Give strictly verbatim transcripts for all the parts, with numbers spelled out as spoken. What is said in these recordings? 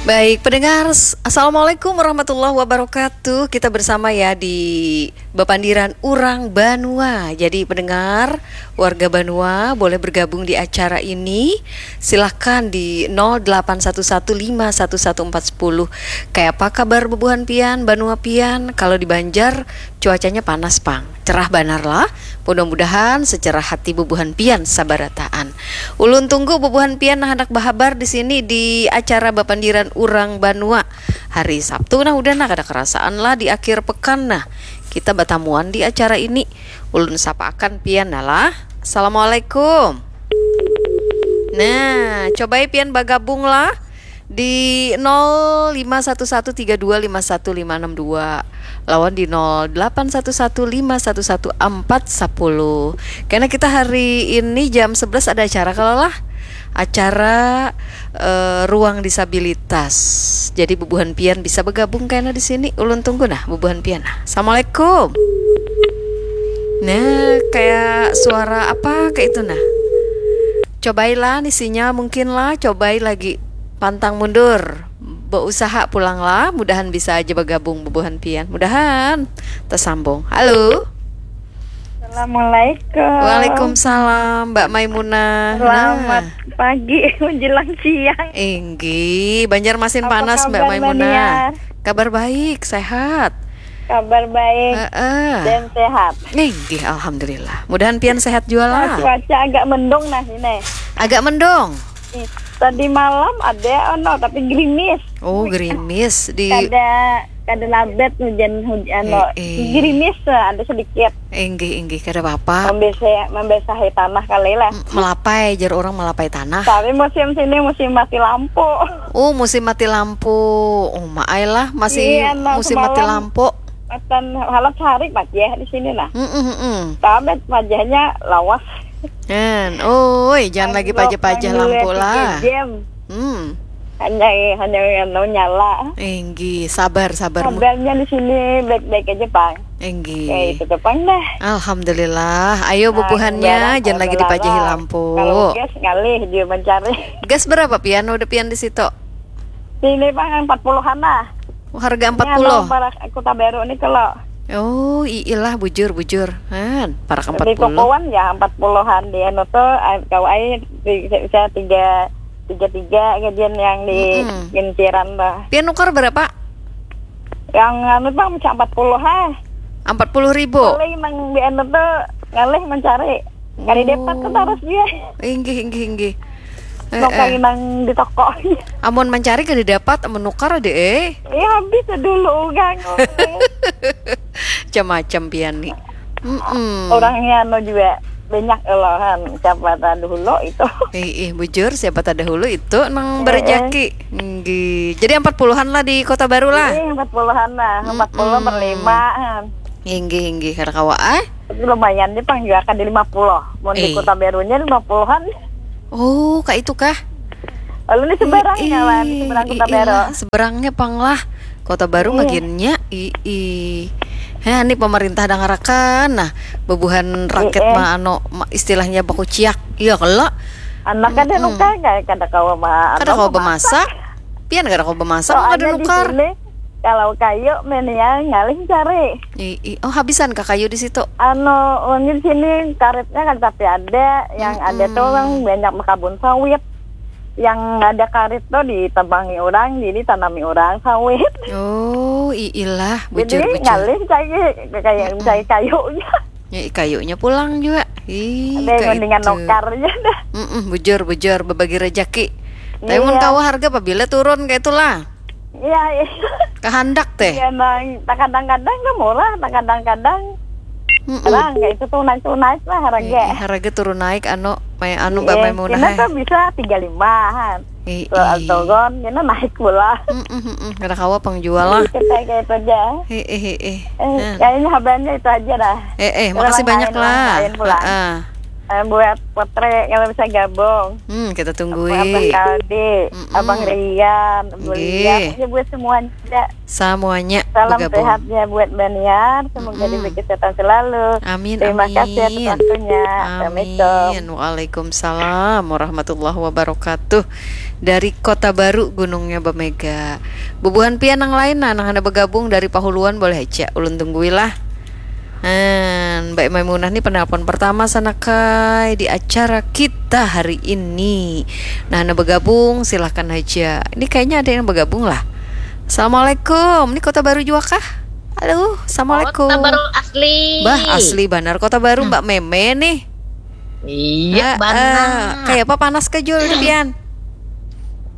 Baik, pendengar, s- Assalamualaikum warahmatullahi wabarakatuh. Kita bersama ya di Bapandiran Urang Banua. Jadi pendengar, warga Banua boleh bergabung di acara ini. Silahkan di nol delapan satu satu lima satu satu empat sepuluh. Kayak apa kabar bubuhan pian, Banua pian? Kalau di Banjar, cuacanya panas pang. Cerah banar lah. Mudah-mudahan secerah hati bubuhan pian sabarataan. Ulun tunggu bubuhan pian nang handak bahabar di sini di acara Bapandiran Urang Banua. Hari Sabtu nah udah nah kada kerasaan lah di akhir pekan nah. Kita batamuan di acara ini. Ulun sapaakan pian nah lah. Assalamualaikum. Nah, cobai pian bagabung lah di nol lima satu satu tiga dua lima satu lima enam dua lawan di nol delapan satu satu lima satu satu empat sepuluh. Karena kita hari ini jam sebelas ada acara kalau lah. Acara eh, ruang disabilitas. Jadi bubuhan pian bisa bergabung karena di sini ulun tunggu nah bubuhan pian. Nah. Assalamualaikum. Nah, kayak suara apa kayak itu nah. Cobailah nih sinyal mungkin lah, cobai lagi pantang mundur. Berusaha pulang lah, mudahan bisa aja bergabung bubuhan pian. Mudahan tersambung. Halo. Assalamualaikum. Waalaikumsalam, Mbak Maimunah. Selamat Nah. pagi menjelang siang. Inggih, Banjarmasin Apa panas, Mbak kabar, Maimunah. Mbak Nia? Kabar baik, sehat. Kabar baik Heeh. dan sehat. Inggih, alhamdulillah. Mudahan pian sehat juga Nah, lah. cuaca agak mendung nah ini. Agak mendung. Ih, tadi malam ada ono tapi gerimis. Oh, gerimis di Kada kada labet hujan hujan Eh, ono. eh. Gerimis eh, ada sedikit. Inggih, inggih, kada apa-apa. Membesahi, membesahi tanah kali lah. M- Melapai, jar orang melapai tanah. Tapi musim sini musim mati lampu. Oh, musim mati lampu. Oh, maai lah, masih Iya, nah, musim mati semalam lampu. Matan halat sehari pajah di sini nah. Mm-mm, mm-mm. Tapi pajahnya lawas. Kan, oi, jangan lagi Anu, pajah-pajah anu, lampu tiga lah. jam. Hmm. Hanya hanya anu nyala. Inggih, sabar, sabar. Kabarnya di sini baik-baik aja, Pang. Inggih. Kayak itu tuh, Pang, dah. Alhamdulillah. Ayo Nah, bubuhannya, barang jangan kalau lagi dipajahi larang. lampu. Kalau gas ngalih dia mencari. Gas berapa pian udah pian di situ? Sini, Pang, empat puluhan lah. Oh, harga Ini empat puluh. anu, parak Kota Baru nih kalau Oh, iilah bujur bujur. Han, parak di empat puluh. tokoan ya empat puluhan di anu tuh, eh, kau ai di bisa tiga tiga tiga gajian yang di Mm-mm. kinciran tuh. Pian nukar berapa? Yang anu, Pang, bisa empat puluh ha. Empat puluh ribu. Paling nang di anu tuh ngalih mencari. Kada dapat kan Oh. harus dia. Inggih, inggih, inggih. Eh, Nukar eh. nang di toko. Amun mencari kada dapat, amun nukar ada eh. Iya, habis dulu ugang. Macam-macam pian ni. Mm-mm. Orangnya anu juga banyak loh kan, siapa terdahulu itu. Ih, ih, bujur, siapa terdahulu itu nang Eh, eh. berejaki. Nggih. Jadi empat puluhan lah di Kota Baru lah. Iya, empat puluhan lah, empat puluh per Mm-mm. lima kan. Inggih, inggih, kada kawa ah. Tapi lumayan nih, Pang, juga kan di lima puluh. Mau di Eh. Kota Barunya lima puluhan. Oh, kak itu kah? Lalu di seberangnya lah, di seberang Kota Baru. Seberangnya pang lah. Kota Baru Iya. maginnya, ii. Heh, ini pemerintah dangarakan. Nah, bebuhan rakyat Iya. mah anu ma- istilahnya bakuciak. Iya kalo. Anak kada Mm-mm. nukar, kada, kada kawa ma- Kada anu, kawa memasak. bemasak. Pian kada kawa bemasak, kada Soalnya di nukar. sini, kalau kayu meniang ngalih cari. Ii, oh habisan kah kayu di situ? Anu, mungkin sini karetnya kan tapi ada, yang ada tuh Mm-mm. orang banyak berkabun sawit. Yang ada karet tuh ditebangi orang, jadi tanami orang sawit. Oh, iilah, Jadi bujur-bujur. ngalih cari kayak Mm-mm. cari kayunya. Ya, kayunya pulang juga. Ih, Ada yang kayak mendingan itu. nukar aja dah. Mm-mm, bujur, bujur, berbagi rezeki. Tapi mun Iya. kawa harga pabila turun kayak itulah. Iya, iya. Kehendak teh. Iya, nang kadang-kadang kan murah, kadang-kadang Mm-mm. terang kayak itu tuh naik tuh naik lah harga. Eh, harga turun naik anu, may anu Mbak Iya, Maimunah, ini eh. tuh bisa tiga lima kan. Eh, Soal eh. turun, ini naik pula. Mm-mm, mm-mm. Kada kawa pang jual lah. Kita kayak itu aja. Eh, eh, eh, eh. Eh, Nah. kayaknya habannya itu aja dah. Eh, eh, Terus makasih orang banyak lain, orang lah. lain pulang. Heeh. Eh, buat Putri kalau bisa gabung. Hmm, kita Abah tunggui. Kaldi, Mm-mm. Abang Rian, Bu Nggih. Lian, ya buat semuanya. Semuanya Salam bergabung. sehatnya buat Baniar, semoga Mm-mm. diberi kesehatan selalu. Amin, Terima kasih atas amin. waktunya. Assalamualaikum. Amin. Waalaikumsalam warahmatullahi wabarakatuh. Dari Kota Baru gunungnya bamega. Bubuhan pian nang lain nah, nang handak bagabung dari Pahuluan boleh haja, ulun tunggui lah. Nah, Mbak Maimunah ni penelpon pertama sanakai di acara kita hari ini. Nah, handak bagabung silahkan haja. Ini kayaknya ada yang bagabung lah. Assalamualaikum. Ini Kota Baru jua kah? Halo, assalamualaikum. Kota Baru asli. Bah, asli banar Kota Baru, Mbak Meme nih. Iya, banar. Kayak apa, panas kah jua udah pian?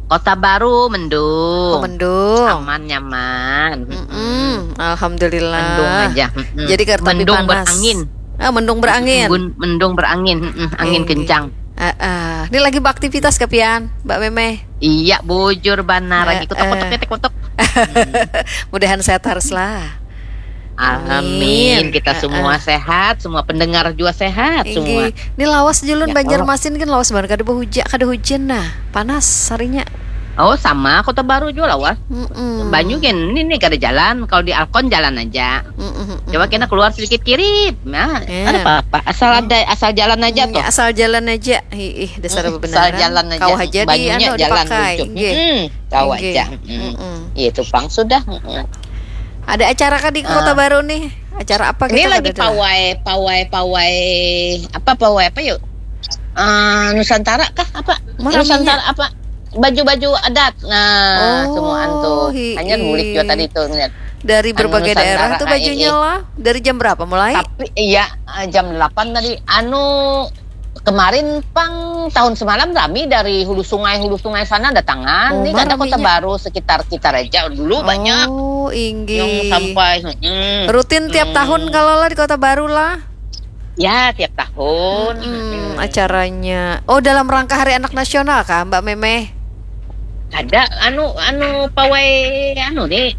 Kota Baru mendung. Oh, mendung. Aman, nyaman. Mm-mm. Alhamdulillah. Mendung aja. Mm-mm. Jadi kada tapi Mendung panas. Berangin. Ah, mendung berangin. Embun, mendung berangin. Mm-mm. Angin Inggih. Kencang. Ah, ah. Ini lagi beraktivitas kah pian, Mbak Meme? Iya, bujur banar. Eh, Lagi kutuk-kutuk, eh. ketek-kutuk. Mudahan sehat terus lah. Amin. Kita Ah, semua ah. Sehat, semua pendengar juga sehat semua. Inggih. Ini lawas julun Ya, Banjarmasin kan lawas banget, kada behujan, kada hujan nah. Panas harinya. Oh, sama Kota Baru juga lawas. Mm-mm. Banyu kan ini nih kada jalan. Kalau di Alkon jalan aja. Mm-mm, mm-mm. Coba kena keluar sedikit kiri. Nah, Ya. ada apa-apa. Asal ada, asal jalan aja Hmm, tuh. Asal jalan aja. Ih, ih, dasar Mm, bebenaran. Asal jalan aja. Kau aja di Banyunya anu jalan dipakai. Ucup. Inggih. Mm, kau Inggih. Aja. Mm. Mm-mm. Itu pang sudah. Mm. Ada acara kah di Kota Baru nih? Acara apa Ini kita lagi kada ada? Pawai, pawai, pawai apa, pawai apa yuk? Eh, Nusantara kah apa? Maraminya. Nusantara apa? Baju-baju adat. Nah, Oh, semuaan tuh. hi-, Hanya bulik juga tadi tuh ngeliat. Dari Anu berbagai daerah Nusantara, tuh ah, bajunya iya. Lah. Dari jam berapa mulai? Tapi iya, eh, jam delapan tadi. Anu, kemarin pang tahun semalam rami dari hulu sungai, hulu sungai sana datangan. Oh, Ini ada Kota raminya. Baru sekitar kita aja dulu banyak. Oh, inggih. Yang sampai, mm-mm. Rutin tiap Hmm. Tahun kalau lah di Kota Baru lah. Ya, tiap tahun. Mm-mm, Mm-mm. Acaranya. Oh, dalam rangka Hari Anak Nasional kah, Mbak Meme? Ada anu, anu pawai anu nih.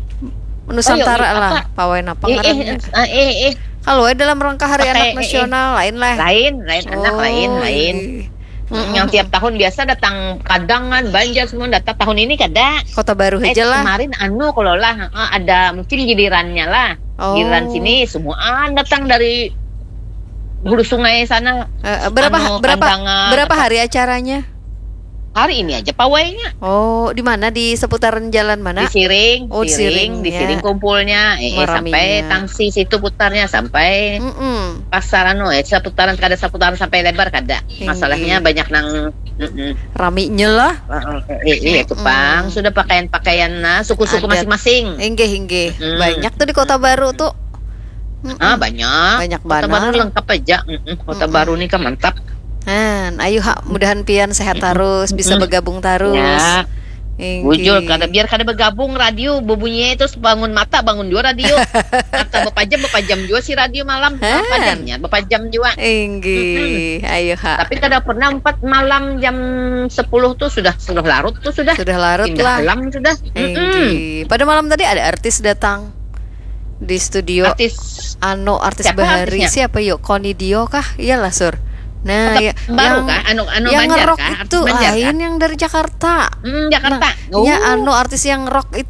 Nusantara Oh, iya, lah, apa? pawai napa Eh, eh, ngarannya? eh, eh, eh. Kalau dalam rangka Hari Pakai, Anak eh, eh. Nasional lain lah. Lain, lain anak Oh, lain, lain. Inggih. Mm, yang tiap tahun biasa datang Kadangan, Banjar semua datang. Tahun ini kada. Kota Baru Eh, aja lah. Kemarin anu kalau lah, eh, ada mungkin gilirannya lah. Oh. Giliran sini semuaan datang dari hulu sungai sana. Eh, eh, berapa Anu, berapa Kandangan, berapa apa? Hari acaranya? Hari ini aja pawainya. Oh, di mana, di seputaran jalan mana? Di Siring, Oh, Siring, Siring, di ya. Siring kumpulnya, eh, eh, Maraminya. Sampai Tangsi situ putarnya sampai Mm-mm. pasar anu, eh, seputaran kada seputaran sampai lebar kada. Inggih. Masalahnya banyak nang mm-mm. Raminya lah. Eh, eh, eh, iya, itu Mm-mm. pang sudah pakaian-pakaian nah suku-suku Adat. Masing-masing. Inggih, inggih. Mm-mm. Banyak tuh di Kota Baru tuh. Mm-mm. Ah, banyak. Banyak Kota banar. Baru lengkap aja. Mm-mm. Kota Mm-mm. Baru nih kan mantap. Han, ayo ha, mudahan pian sehat terus, bisa Mm-mm. bergabung terus. Ya. Inggih. Bujur, kada biar kada bergabung radio bebunyi itu bangun mata bangun juga radio. Mata bepajam bepajam juga si radio malam. Hah? Apa adanya bepajam juga. Inggih, ayo ha. Tapi kada pernah empat malam jam sepuluh tuh sudah sudah larut tuh sudah. Sudah larut Pindah lah. Alam sudah. Mm-mm. Inggih. Pada malam tadi ada artis datang di studio. Artis Anu artis Siapa bahari artisnya? Siapa yuk? Koni Dio kah? Iyalah Sur. Nah, Kota ya, Baru yang kah? Anu anu yang Banjar ngerok kah? Itu Artis Banjar lain kah? Yang dari Jakarta. Hmm, Jakarta. Nah, ya Oh. Anu artis yang rock itu